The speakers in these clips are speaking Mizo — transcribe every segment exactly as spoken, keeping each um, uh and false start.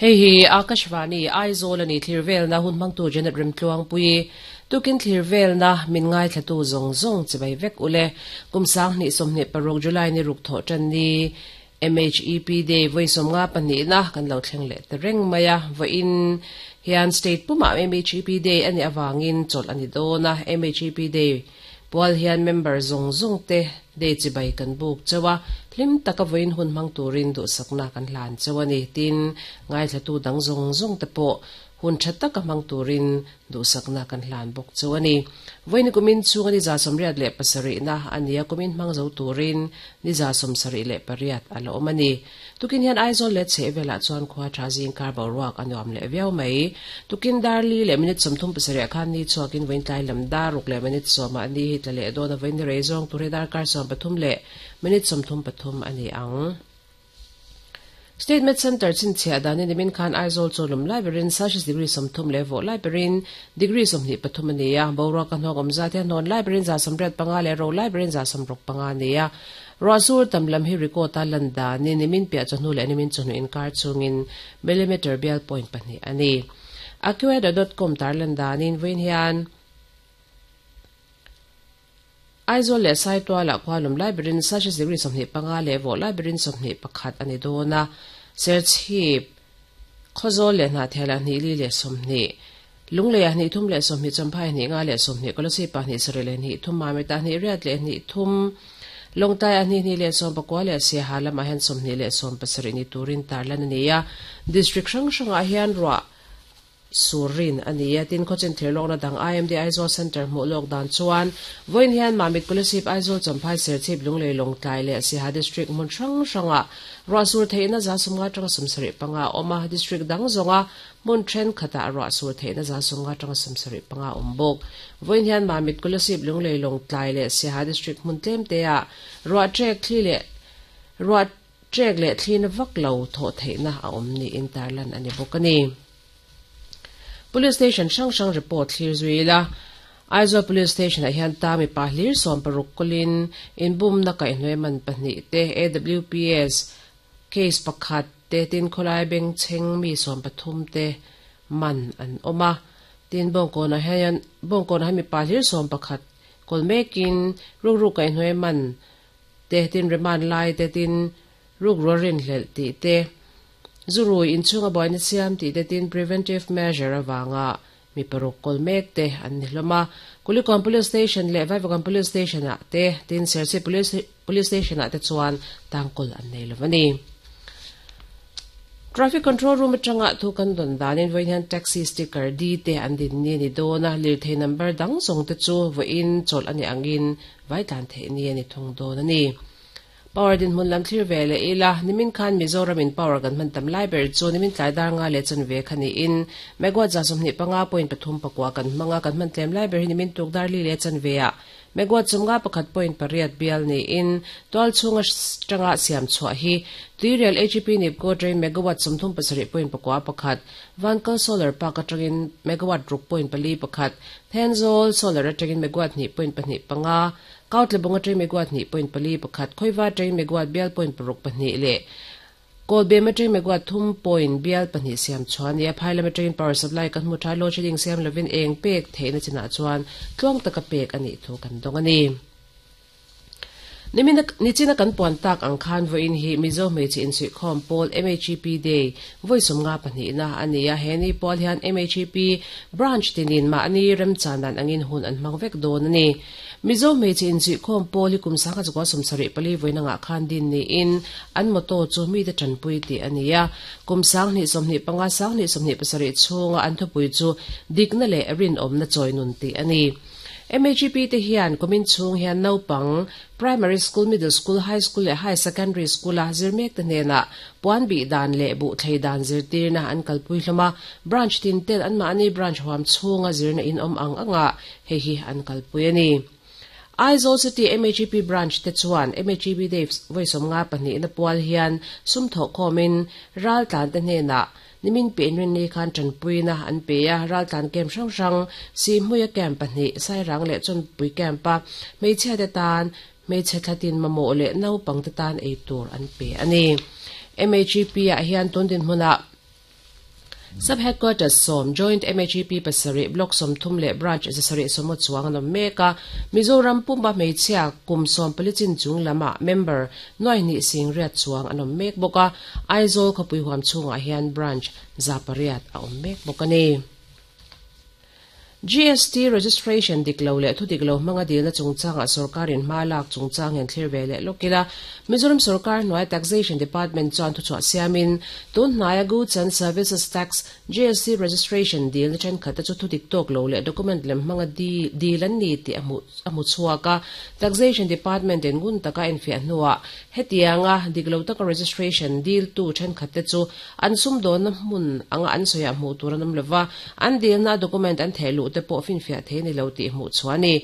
Hei hi Akashvani Aizawl ani thlir na hun mangtu Janet Remtluang pui tukin thlir na min ngai thlatu zong zong chibai vek ule kumsang ni somne paruk July ni ruk tho chan ni M H E P Day voi somnga pani na kan lo thleng le tereng maya vo in hian state puma M H E P Day ani awangin chol ani dona M H E P Day pual hian member zong zong te day chibai kan buk chawa hlim taka voin hun mang turin du sakna kan hlan chawani tin ngai thlatu dang zong zong te po hun thatta ka mang turin du sakna kan hlan bok chawani voin kumin chungani za somriat le pasari na ania kumin mang zo turin ni za somsari le pariat alo omani tukin hian Aizawl le chevela chuan khwa thazing kar boruak anuam le viau mai tukin darli le minute somthum pasari khan ni chuakin voin tlai lam daruk le minute soma ani hi tlale dona voin reizong ture dar kar som pathum le minute somthum pathum ani ang Statement Center chin chia dani nimin khan Aizawl cholum library Celsius degree somthum level library degree somni pathum ania bora kan hok omza te non library za somret panga le ro library za somrok panga ania Rasur tamlam hi record landa ni nimin pia chonu le nimin chonu in kar chungin millimeter bial point pani ani acuweather dot com tarlanda nin win hian Aizawl le saitwa la khwalum library Celsius degree somni panga le vo library somni pakhat ani dona search hip khozol le na thela ni li le somni lungle ya ni thum le somni champhai ni nga le somni kolosi pa ni sare le ni thum ma me ta ni riat le ni thum longtai ani ni le som pakwa le se halam a hen somni le som pasari ni turin tarlan ani ya district rang ranga hian ro surin ania tin khochin therlok na dang I M D Aizawl Center mu lok dan chuan voin hian mamit kolasip Aizawl champhai serchip lunglei longtlai le siha district mun hrang hranga rasur theina za sumnga tang sumsari panga oma district dang zonga mun then khata rasur theina za sumnga tang sumsari panga ombok voin hian mamit kolasip lunglei longtlai le siha district mun tlem te a ro trek thli le ro trek le thlin vak lo tho theina a omni interlan ani bokani Police station sang sang report thlir zuila Aizawl Police Station a hian ta mi pa hlir som paruk kolin in bum na kai hnoi man pahnih te A W P S case pakhat te tin kholai beng cheng mi som pathum te man an oma tin bong ko na hian bong ko na mi pa hlir som pakhat kol mekin ruk ruk kai hnoi man te tin reman lai te tin ruk rorin hlel ti te Zurui in chunga boy na siam ti te tin preventive measure awanga mi paruk kol mek te an ni hloma Kulikom Police Station le Vaivakawn Police Station a te tin Serchhip Police Police Station a te chuan tangkol an nei lovani Traffic Control Room atanga thu kan don danin voin hian taxi sticker D te an din ni ni dona lir thei number dang song te chu voin chol ani angin vai tlan the ni ani thung don ani Power din mun lam thlir vele ila nimin khan Mizoram in power gan man tam library chu nimin tlai dar nga le chan ve khani in megawatt za somni panga point pathum pakwa kan manga kan man tlem library nimin tuk dar li le chan ve a megawatt chumga pakhat point pariat bial ni in tol chunga tanga siam chwa hi tuirial H P nipco train megawatt somthum pasari point pakwa pakhat vankal solar park atangin megawatt ruk point pali pakhat Thenzawl solar atangin megawatt ni point pahnih panga Kautlebonga train megawatt ni point pali pakhat khoiwa train megawatt bial point paruk pahnih le Kolbema train megawatt thum point bial pahnih siam chuan ya phailama train power supply kan mu tha load shedding siam lovin eng pek theina china chuan tluang taka pek ani thu kan dong ani Nimin nichina kan puan tak ang khan voin hi Mizo hmeichhe insui khawm pawl M H E P Day voi sawmnga pahnih na ania heni pawl hian M H E P branch tinin ma ani remchanan angin hun an hmang vek dawn ani Mizo hmeichhe insui khawm pawl hi kum sangha chukua sawmsarih pali voina nga khan din ni in an motto chu mi te tanpui ti ania kum sang hnih sawmhnih panga sang hnih sawmhnih pasarih chhunga an thupui chu dikna le rin awmna chawinun ti ani M H E P te hian kumin chung hian naupang primary school middle school high school le high secondary school a zirmek te hnena puan bi dan le bu thlei dan zirtir na an kalpui hloma branch tin ten an ma ani branch huam chunga zirna in om ang anga hei hi an kalpui ani Aizawl City M H E P branch te chuan M H E P Day voi somnga pahnih na pual hian sum tho khomin ral tlan te hnena nimin pe rin ni khan tanpui na an pe a ral tlan kem hrang hrang si hmuia kem pahnih sairang leh chon pui kem pa hmeichhia te tan hmeichhe thlatin mamawh leh naupang te tan ei tur an pe ani M H E P ah hian tun din hmunah Sub Headquarters sawm, Joint M H E P pasarih, Block sawmthum leh Branch zasarih sawmaw chuang an awm mek a. Mizoram puma hmeichhia kum sawm pali chin chung lamah member nuai hnih sing riat chuang an awm mek bawk a. Aizawl khawpui huam chhungah hian branch za pariat a awm mek bawk a ni. G S T registration dik lo leh thu dik lo hmanga dilna chungchangah sorkarin hma lak chungchang hian thlir ve leh lawk ila. Mizoram sorkar hnuai Taxation Department chuan thuchhuah siamin tun hnaia Goods and Services Tax G S T registration dilna thenkhat te chu thu dik tawk lo leh document lem hmanga dil an ni tih a hmu chhuak a. Taxation Department in ngun taka enfiah hnuah hetianga dik lo taka registration diltu thenkhat te chu an sumdawnna hmun anga an sawiah hmuh tur an awm lova, an dilna document an theh luh te pawh finfiah thei ni lo tih hmuh chhuah a ni.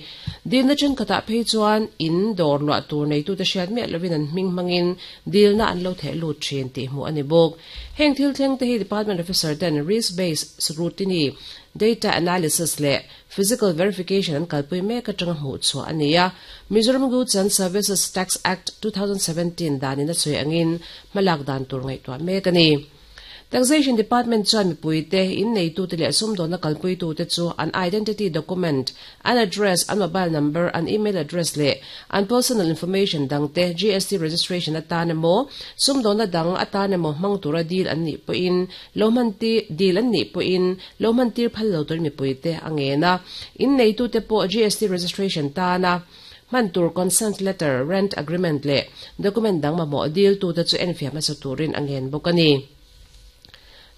Dilna thenkhatah phei chuan in dawr luah tur neitute hriat miah lovin an hming hmangin dilna an lo theh lut thin tih hmuh a ni bawk. Heng thil thleng te hi department officer ten risk based scrutiny, data analysis leh physical verification an kalpui mek atanga hmuh chhuah a ni a. Mizoram Goods and Services Tax Act twenty seventeen danin a sawi angin hmalak dan tur ngaihtuah mek a ni. Taxation Department chuan mipuite, in neitute leh sumdawnna kalpuitute chu an identity document, an address, an mobile number, an email address leh an personal information dangte G S T registration atan emaw sumdawnna dang atan emaw hmang tura dil an nih pawhin lo hman ti dil an nih pawhin lo hman tir phal lo tur mipuite a ngen a. In neitute pawh G S T registration tana hman tur consent letter, rent agreement leh document dang mamawh dil tute chu enfiah hmasa turin a ngen bawk a ni.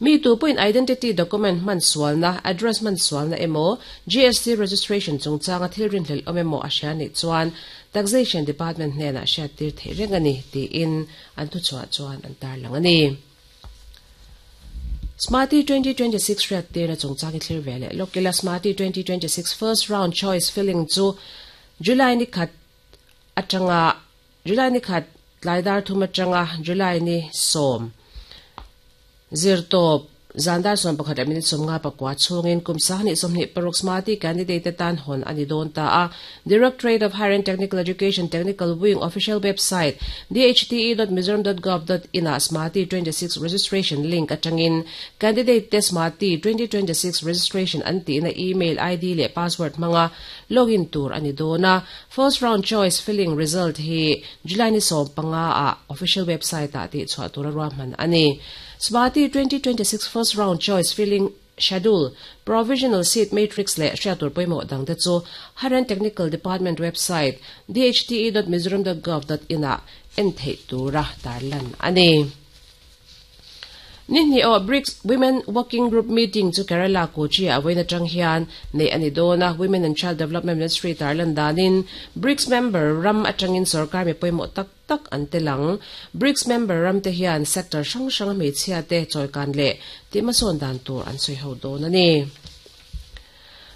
Mi tu pawhin identity document hman sualna, address hman sualna emaw G S T registration chungchanga thil rinhlelh awm emaw a hria nih chuan Taxation Department hnenah hriat tir theih reng a ni tiin an thuchhuah chuan an tarlang a ni. Smarty twenty twenty-six hriat tirna chungchang i thlir ve leh lawk ila. Smarty twenty twenty-six first round choice filling chu July ni khat atanga July ni khat tlaidar thum atanga July ni sawm zirtawp zandar sawm pakhat leh minute sawmnga pakua chhungin kum sanghnih sawmhnih paruk Smarty candidate tan hawn a ni dawn ta a. Directorate of Higher and Technical Education Technical Wing official website D H T E dot mizoram dot gov dot in ah Smarty twenty-six registration link atangin candidate te Smarty twenty twenty-six registration an tihna email I D leh password hmanga login tur a ni dawn a. First round choice filling result hi July ni sawm panga a official website ah tih chhuah tura ruahman a ni. Smarty twenty twenty-six first round choice filling schedule, provisional seat matrix leh hriattur pawimawh dangte chu Higher and Technical Department website D H T E dot mizoram dot gov dot in ah en theih tura tarlan a ni. Ni hnih awh BRICS Women Working Group meeting chu Kerala Kochi a vawiin atang hian nei a ni dawn a. Women and Child Development Ministry tarlan danin BRICS member ram atangin sorkar mi pawimawh tak tak an telang. BRICS member ram te hian sector hrang hrang hmeichhia te chawikan leh tihmasawn dan tur an sawi ho dawn a ni.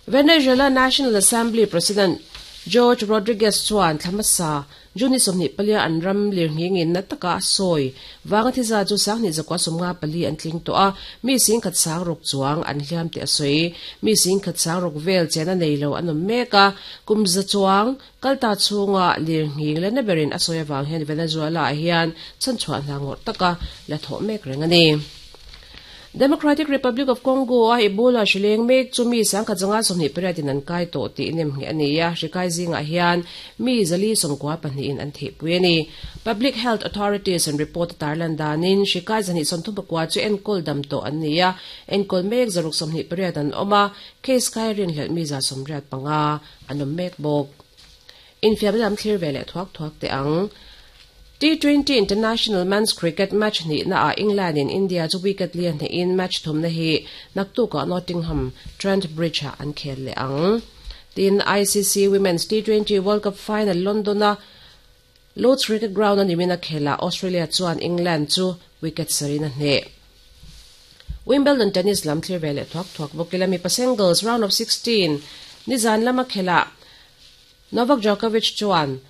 Venezuela National Assembly President Jorge Rodriguez chuan thlamasa Juni sawmhnih palia an ram lirnghingin na taka a sawi wanga thiza chu sanghnih zakua sawmnga pali an tling tawh a, mi sing khat sang ruk chuang an hliam te a sawi. Mi sing khat sang ruk vel chen a nei lo an awm mek a. Kum za chuang kalta chhunga lirnghing le na berin a sawi awang hian Venezuela ah hian chhanchhuah hna ngawrh taka la thawh mek reng a ni. Democratic Republic of Congo a Ebola hrileng mek chu mi sangkhat zanga sawmhnih pariatin an kai tawh tih nem nge a ni a. Hri kai zingah hian mi zali sawmkua pahnihin an theihpui a ni. Public health authorities an report tarlan danin hri kai zahnih sawmthum pakua chu enkawl dam tawh an ni a, enkawl mek zaruk sawmhnih pariat an awm a, case kai rinhlelh mi za sawmriat panga an awm mek bawk. Infiamna lam thlir ve leh thuak thuak teh ang. T twenty International Men's Cricket match ni na a England in India chu wicket lian hne in match thumna hi naktuka Nottingham Trent Bridge a an khel le ang. Tin I C C Women's T twenty World Cup final London a Lord's Cricket Ground ani mina khela Australia chuan England chu wicket sarina hne. Wimbledon tennis lam thlir ve leh thuak thuak bawk ila. Mipa singles round of sixteen nizan lama khela Novak Djokovic chuan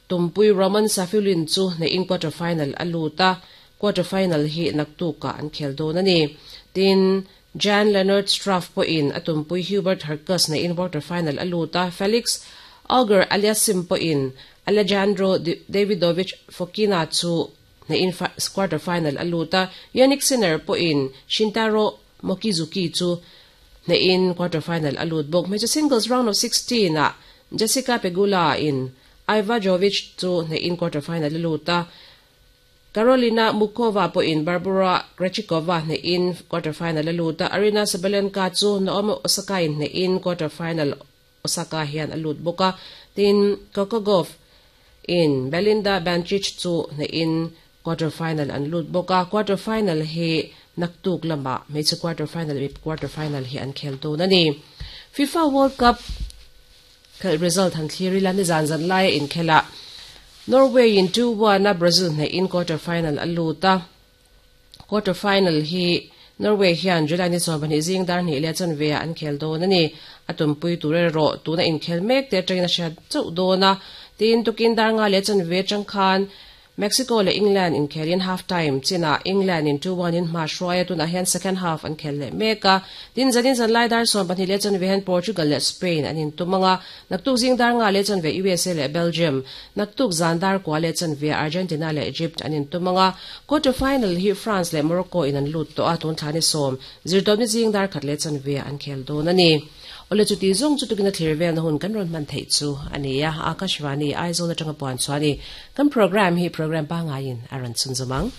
tumpui Roman Safiullin chu ne in quarter final a luta. Quarter final hi naktuka an khel dawn ani. Tin Jan Lennard Struff po in atumpui Hubert Hurkacz na in quarter final a luta. Felix Auger Aliassime po in Alejandro Davidovich Fokina chu hnehin quarter final a lut a, Jannik Sinner pawhin Shintaro Mochizuki chu hnehin quarter final a lut bawk. Hmeichhe singles round of sixteen ah Jessica Pegula in Iva Jovic chu hnehin quarter final a lut a, Karolina Muchova pawhin Barbora Krejcikova hnehin quarter final a lut a, Aryna Sabalenka chu Naomi Osaka in hnehin quarter final Osaka hian a lut bawk a, tin Coco Gauff in Belinda Bencic chu hnehin quarter final an lut bawk a. Quarter final hi naktuk lama hmeichhe quarter final leh quarter final hi an khel dawn a ni. FIFA World Cup khelh result han thlir ila nizan zan laia inkhelah Norway in two one a Brazil hnehin quarter final a lut a. Quarter final hi Norway hian July ni sawm pahnih zing dar hnih leh chanve ah an khel dawn a ni. A tumpui tur erawh tuna inkhel mek te atangin a hriat chauh dawn a. Tin tukin dar nga leh chanve atang khan Mexico leh England inkhelin half time chinah England in two one in hma hruai a, tunah hian second half an khel leh mek a. Tin zanin zan lai dar sawm pahnih leh chanve hian Portugal leh Spain an intum ang a. Naktuk zing dar nga leh chanve U S A leh Belgium, naktuk zan dar kua leh chanve Argentina leh Egypt an intum ang a. Quarter final hi France leh Morocco in an lut tawh a, tun thla ni sawm zirtawpni zing dar khat leh chanve an khel dawn a ni. Ole chuti zawng chu tukin a thlir velna hun kan rawn hman theih chu a ni a. Akashvani Aizawl atanga puan chuan i kan program hi program pangaiin a rawn chhun zawm ang.